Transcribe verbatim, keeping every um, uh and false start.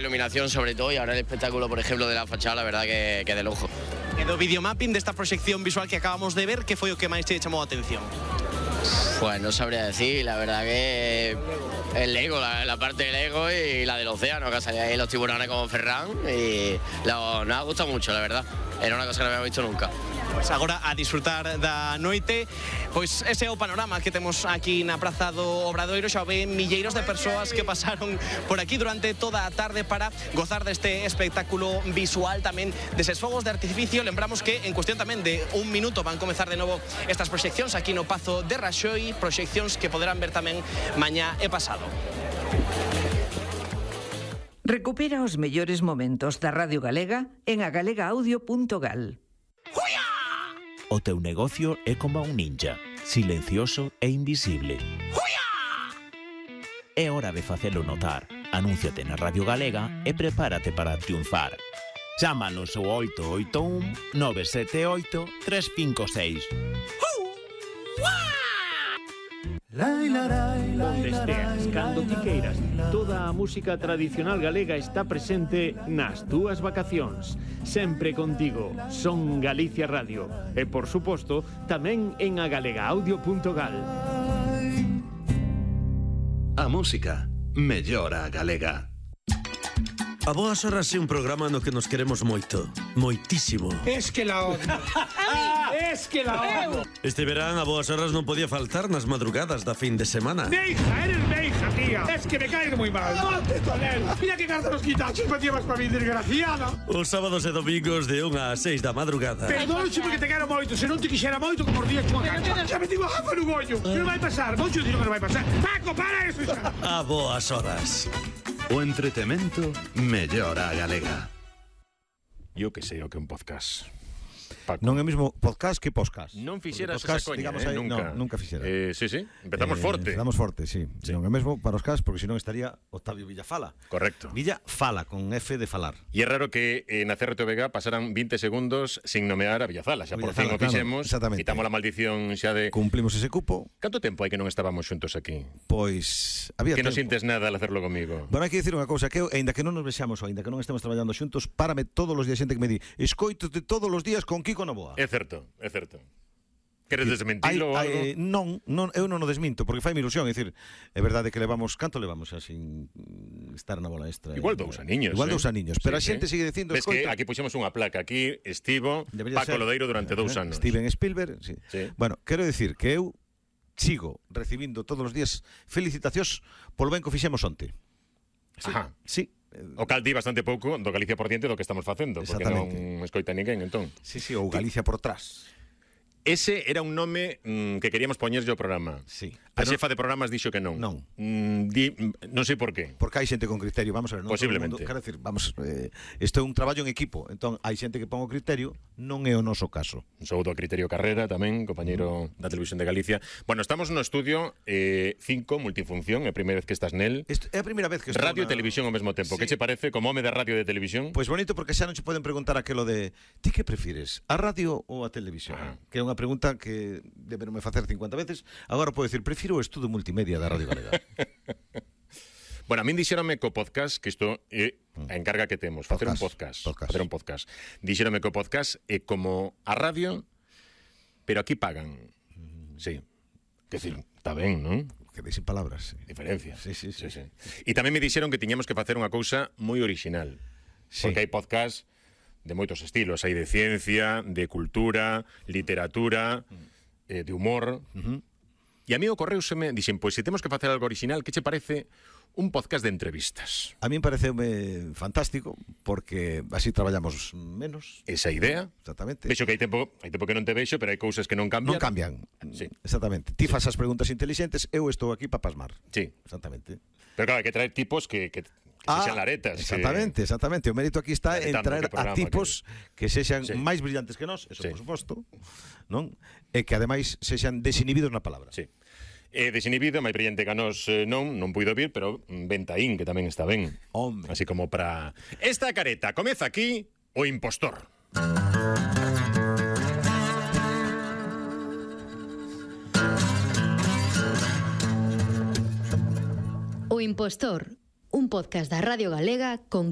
Iluminación sobre todo, y ahora el espectáculo, por ejemplo, de la fachada, la verdad que, que de lujo. E do videomapping desta proxección visual que acabamos de ver, que foi o que máis te chamou a atención? Pues no sabría decir, la verdad que el Lego, la, la parte del Lego y la del océano, que salía ahí los tiburones como Ferran, y lo, nos ha gustado mucho, la verdad. Era una cosa que no habíamos visto nunca. Pois agora a disfrutar da noite. Pois ese é o panorama que temos aquí na Praza do Obradoiro. Xa ven milleiros de persoas que pasaron por aquí durante toda a tarde para gozar deste espectáculo visual, tamén deses fogos de artificio. Lembramos que en cuestión tamén de un minuto van comezar de novo estas proxeccións aquí no Pazo de Raxoi, proxeccións que poderán ver tamén mañá e pasado. Recupera os mellores momentos da Radio Galega en agalegaaudio punto gal. O teu negocio é como un ninja, silencioso e invisible. É hora de facelo notar. Anúnciate na Radio Galega e prepárate para triunfar. Chámanos ao oito oito un nove sete oito tres cinco seis. Onde esteas, cando ti queiras, toda a música tradicional galega está presente nas túas vacacións. Sempre contigo, Son Galicia Radio. E, por suposto, tamén en agalegaaudio punto gal. A música mellora a galega. A Boas Horas é un programa no que nos queremos moito, moitísimo. Es que la odio. Es que la odio. Este verán a Boas Horas non podía faltar nas madrugadas da fin de semana. Neija, eres neija, tía. Es que me caes muy mal. ¡Mate con él! Mira que carta los quitachos me llevas para mi desgraciada. Os sábados e domingos de unha a seis da madrugada. Perdónche porque te quero moito. Se non te quixera moito, como os días con a cancha. Xa me digo jafa no gollo. Que non vai pasar? Moito dino que non vai pasar. Paco, para eso xa. A Boas Horas. O entretemento mellora a galega. Eu que sei o que é un podcast. Paco. Non é mesmo podcast que podcast. Non fixeras podcast, esa coña, digamos, eh, aí, nunca. No, nunca fixera. Eh, sí, sí, empezamos eh, forte. Empezamos forte, sí. sí. Non é mesmo para os cas, porque senón estaría Octavio Villafala. Correcto. Villa Fala, con F de falar. E é raro que eh, na C R T V G pasaran vinte segundos sin nomear a Villafala. Xa por fin o fixemos. Claro, quitamos a maldición xa de... Cumplimos ese cupo. Canto tempo hai que non estábamos xuntos aquí? Pois... había que tempo. non sintes nada al hacerlo comigo. Bueno, hai que dicir unha cousa, que eu, ainda que non nos vexamos ou ainda que non estemos traballando xuntos, párame todos os días xente que me di escoitote todos os días con Kiko Novoa. É certo, é certo. Queres desmentilo ou algo? Eh, non, non, eu non o desminto, porque fai mi ilusión, é dicir, é verdade que levamos, canto levamos xa sin estar na bola extra? Igual dous aniños. Igual eh? dous aniños, pero sí, a xente sí. sigue dicindo... Ves escoita, que aquí puxemos unha placa, aquí estivo Debería Paco ser, Lodeiro durante dous eh, anos. Steven Spielberg, sí. sí. Bueno, quero dicir que eu sigo recibindo todos os días felicitacións polo ben que fixemos onte. Sí. Ajá. Sí. O cal di bastante pouco do Galicia por diante do que estamos facendo, porque non escoita ninguén, entón. Sí, sí, ou Galicia por trás. Ese era un nome mm, que queríamos poñerlle ao programa. Sí. A xefa de programas dixo que non. Non. Mm, di, non sei por qué. Porque hai xente con criterio, vamos a ver, non Posiblemente. todo o mundo, quero decir, vamos, eh, isto é un traballo en equipo, entón hai xente que pon o criterio, non é o noso caso. Un saúdo a Criterio Carrera tamén, compañeiro mm. da Televisión de Galicia. Bueno, estamos no estudio cinco, eh, multifunción, é a primeira vez que estás nel. Est é a primeira vez que estou Radio na... e televisión ao mesmo tempo. Sí. Que che parece como home de radio e de televisión? Pois bonito, porque xa non che poden preguntar aquelo de ti que prefires, a radio ou a televisión? Ah. Que é unha pregunta que deberonme facer cincuenta veces. Agora podo dicir, prefiro o estudo multimedia da Radio Galega. Bueno, a min dixérame co podcast, que isto é a encarga que temos, facer un podcast, podcast. facer un podcast. Dixérame que o podcast é como a radio, pero aquí pagan. Sí. Que decir, está ben, non? Que deixen palabras. Sí. Diferencia. Sí, sí, sí. sí, sí. E tamén me dixeron que tiñamos que facer unha cousa moi original. Sí. Porque hai podcast de moitos estilos, hai de ciencia, de cultura, literatura, eh, de humor. Uh-huh. E a mí ocorreuseme, dixen, pois se temos que facer algo original, que che parece un podcast de entrevistas? A mí me pareceume fantástico, porque así traballamos menos. Esa idea. Exactamente. Vexo que hai tempo, hai tempo que non te vexo, pero hai cousas que non cambian. Non cambian. Sí. Exactamente. Ti fas as preguntas inteligentes, eu estou aquí para pasmar. Sí. Exactamente. Pero claro, hai que traer tipos que, que, que ah, sexan laretas. Exactamente, que... exactamente. O mérito aquí está en traer a tipos que, que sexan sí. máis brillantes que nós, eso sí. por suposto, non? E que ademais sexan desinhibidos na palabra. Sí. Eh, desinhibido, máis brillante que a nós eh, non, non puido vir, pero Ventaín, que tamén está ben. Hombre. Así como para... Esta careta, comeza aquí o impostor. O impostor, un podcast da Radio Galega con